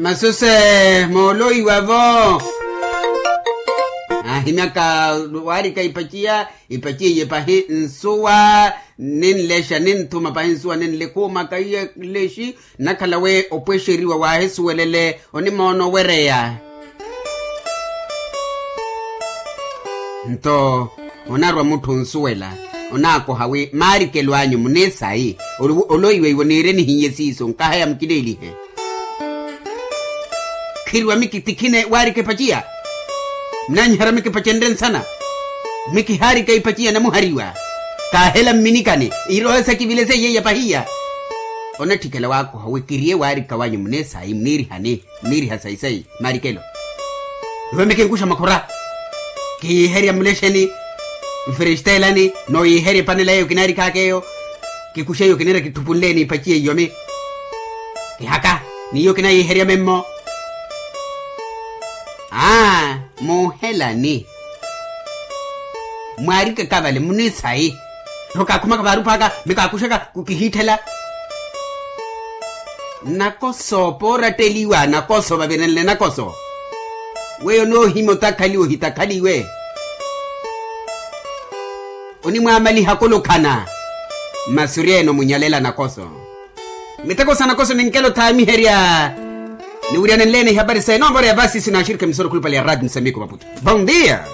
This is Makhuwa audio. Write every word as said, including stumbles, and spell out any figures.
Masuse mooloiwa-vo. Aahimyaka waarika ipaciya, ipaciya iye pahi nsuwa, ninlexa ninthuma pahi nsuwa ninlekhuumaka iye nlexi. Nnakhala wi opwexeriwa waahisuwelele onimoona owereya. Nto onarwa mutthu onsuwela, onaakoha wi maarikelo anyu munisayi. Oloiweiwo niire nihiye siiso nkahaya mukileelihe. Khiriwa miki tikhine waarika epaciya. Munanyiherya miki epacenre nsana. Miki haarika ipaciya namuhariwa. Kaahela mminikani iroho sakivilese iye yapahiya. Onatthikela waakoha wi kiriye waarika wanyu munisayi muniirihani. Muniiriha sayi-sayi marikelo. Iwe mikinkuxa makhura. Kiyiherya mulexeni, mfirixitelani, nooyiherya epanela yeeyo kinaarikhaaka eyo. Kikuxa eyo kinira kithupunleeni ipaciya iyomi. Kihaka, n'iyo kinayiherya memmo. Aa, muuhelani. Mwaarikaka vale munisayi. Nto kaakhumaka vaarupaaka mikaakuxaka kukihiitthela. Nakoso pooratteliwa nakoso vavirenle nakoso. Weyo noohimya otakhaliwa ohitakhaliwe. Onimwaamaliha kulukhana. Masi ori eno munyalela nakoso. Miteko sa nakoso ninkela othaamiherya. Niwiryanenleeni ehapari sa enoovora ya vasisi na axirikha emisoro khulupale ya rati msamiko maputo. Bon dia.